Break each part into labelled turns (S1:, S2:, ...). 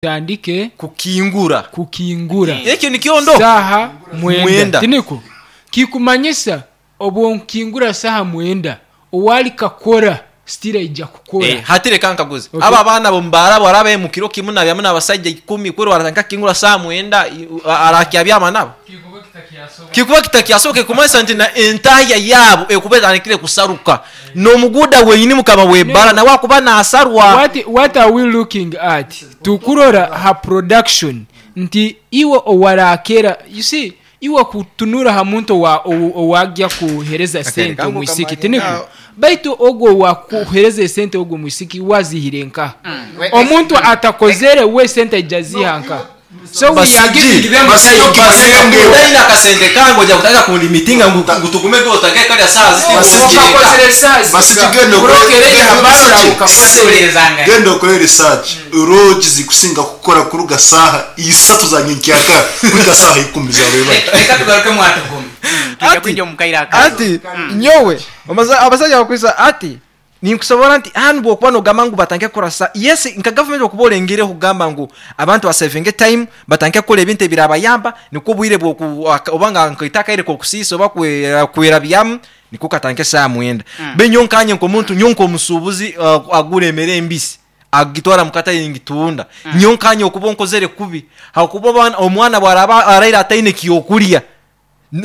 S1: Tutandike
S2: Kukingura.
S1: kukingura
S2: Ekyo nikyo ndo.
S1: saaha mwenda,
S2: Mwenda.
S1: tinikwo? Kikumanyisa obu nkingura saaha mwenda, owalikakora still aija kukora.
S2: Eh, hati reka nkaguze.
S1: Okay.
S2: Abo abaana b'omu baara bwaraba mu kiro kimu nabyamu n'abasaija ikumi kweri waratandika kukingura saaha mwenda arakyabyama nabo? Kikuba kitakyasoboka ekumanyisa nti na entahya yaabo ekuba etandikire kusaruka. N'omuguuda wenyini mukama w'ebbaara nawe akuba naasarwa.
S1: What are we looking at? Tukurora ha production nti iwe owarakera, you see, iwe kutunura ha muntu owagya kuhereza sente omwisiki, tinikwo? Baitu ogwo owakuhereza esente ogwo mwisiki wazihire nkaha? Omuntu atakozere we sente aija aziha nkaha? So we are giving them time.
S2: Otaine akasente kange oja kutandika kundimitinga ngu tugume otake karya saaha ziti
S1: Okakozere saaha
S3: Basi
S1: zika.
S3: genda okore-
S1: Burokere
S3: genda
S1: habari
S3: okore-
S1: ukakozere.
S3: Genda okore research. Roji zikusinga kukora kuruga saaha isatu za nyenkyakara kuhika saaha ikumi za rwebagyo.
S4: Reka tugaruke mwatugume. Tujja kwija omu kaire akazo.
S2: Ati nyowe abasaija bakwisa ati ninkusobora nti hanu bwokuba nogamba ngu batandike kukora sa yes nka gavumenti okuba orengereho kugamba ngu abantu basevinge time batandike kukora ebintu ebirabayamba nikwo obwire bwoku oba nga nkaita akaire k'okusiisa oba kwerabyamu nikwo katandike esaaha mwenda. Be nyowe nkanye nk'omuntu nyowe nk'omusuubuzi agura emere embisi agitwara mu katare ningitunda. Nyowe nkanye okuba onkozere kubi ahakuba omwana bwaraba araire ataine kyokurya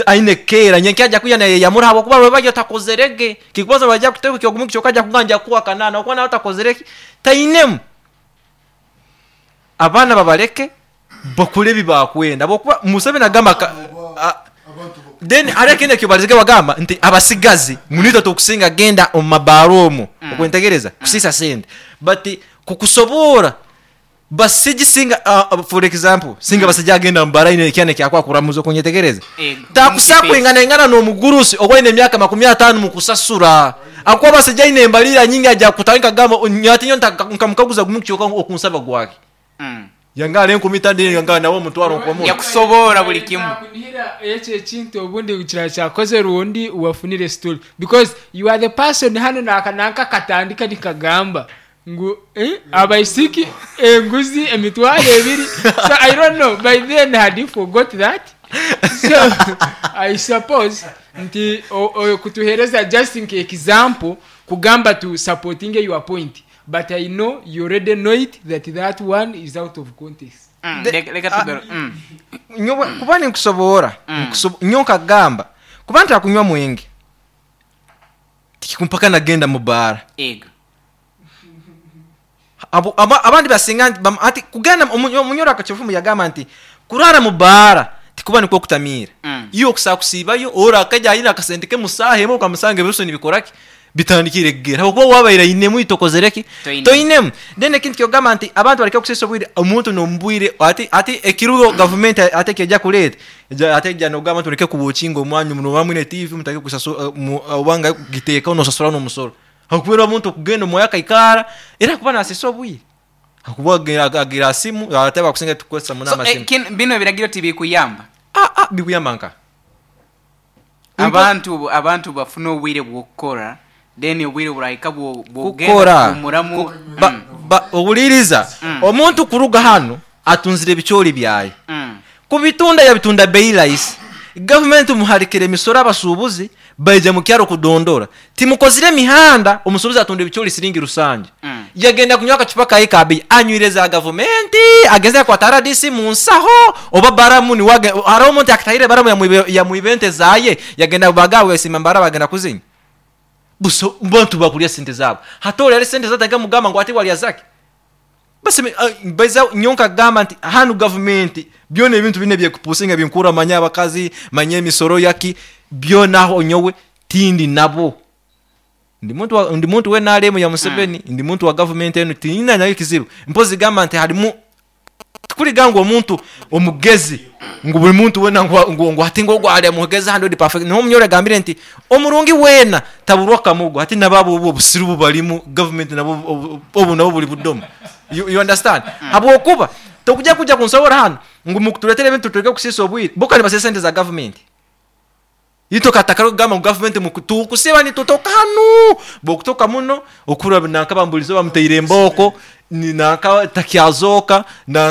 S2: aine keera nyenkya aja kuya nayeyamura ahabwokuba rwebagyo takozerege. Kikubazo baija kuteeka ekyogumu kyonka aja kugamba nja kukuha kanaana ahabwokuba nawe takozereki tainemu. Abaana babareke bakore ebi bakwenda ahabwokuba Museveni agamba then hariho ekindi eki barize bagamba nti abasigazi ngu nitwe tukusinga genda omu mabaara omwo okwentegereza kusiisa sente but kukusoboora basigi singa for example singa basigi agenda mu baara aine ekyana ekyakwa kuramuza okunyetegereza takusa kwinganaingana n'omugurusi oba aine emyaka makumi ataano mukusasura ahakuba basigi aine embariira nyingi aja kutandika kugamba ati nyowe nkamukaguza gumu kyonka okunsaba gwaki yanga hariho enkumi itaano yanga nawe omutwaro nkomuhe.
S4: Yakusoboora buri kimwe.
S1: Nakunihira ekyo ekintu obundi kiraba kyakozire rundi wafunire story because you are the person hanu naka nanka katandika nikagamba ngu abaisiki enguzi emitwaro ebiri so I don't know by then had you forgot that so I suppose nti kutuhereza just nka example kugamba to supporting your point but I know you already know it that that one is out of context.
S4: Reka tugaru-.
S2: Nyowe kuba ninkusoboora, nyowe nkagamba kuba ntakunywa mwenge tikikumpaka nagenda mu baara.
S4: Ego.
S2: Abandi basinga nti ati kugenda omunyoro akakifumu yagamba nti kurara mu baara tikuba nikwo kutamiira. Iwe okusa kusiibayo ora akaja aine akasente ke musaaha emwe okamusanga ebirusu nibikora ki? Bitandikire kugera. Ahabw'okuba wabaire ainemu itokozere ki?
S4: Toinemu.
S2: Toinemu. Then ekindi kyogamba nti abantu bareke kusiisa obwire omuntu nomubwire ati ati ekirugo gavumenti ate eky'eja kureeta ate eja nogamba nti mureke kubukinga omwanya munoba mwine TV mutandike kusasura obanga kugiteekaho nosasura n'omusoro. Ahabw'okuba omuntu okugenda omwaya akaikaara era akuba nasiisa obwire. Ahakuba agira aha simu ate abakusinga tukukozesa muno
S4: So,
S2: amasimu.
S4: binu ebiragiro tibikuyamba?
S2: Bikuyamba nka?
S4: Abantu bafuna obwire bw'okukora then obwire burahika bw'okugenda
S2: Kukora.
S4: kuhumuramu.
S2: Ohuriiriza, omuntu kuruga hanu atunzire ebicoori byaye. Kubitunda yabitunda bei rahisi. Gavumenti muharikire emisoro abasuubuzi baija mu kyaro kudondora. Timukozire emihanda omusuubuzi atunda ebicoori siringi rusanju. Yagenda kunywa akacupa kaye ka bei anywire za gavumenti agenzire akwata RDC mu nsaho oba baramu niwe hariho omuntu akatahire baramu yamwiba ente zaye yagenda bagawe yasiima mbara bagenda kuzinywa. Buso bantu bakurya sente zaabo. Hati ori hariho sente zatandika mugamba ngu ati warya zaki? Basi baiza nyowe nkagamba nti hanu gavumenti byona ebintu bine ebyekupusinga binkura manya abakazi manya emisoro yaki byona aho nyowe tindi nabo. Ndi muntu wa, ndi muntu wa NRM ya Museveni, ndi muntu wa gavumenti enu tinyina nayo kizibu. Mpozi gamba nti harimu tikuriga ngu omuntu omugezi ngu buri muntu wena ngu ati ngu ogwo ari mugezi handi ori perfect. Niho omunyoro agambire nti omurungi wena taburwa kamogo ati nababo obu obusiru obu barimu gavumenti nabo obu nabo buri budomo. You understand? Habwokuba tokuja kuja kunsobora hanu ngu mukuturetera ebintu tureke kusiisa obwire. Bo kandi basiisa sente za gavumenti. Itwe katakare kugamba ngu gavumenti muku tukusiiba nitutoka hanu! Bwokutoka muno, okuhurira nanka bambulize bamutaire embooko, ni nanka takyazooka, nanka.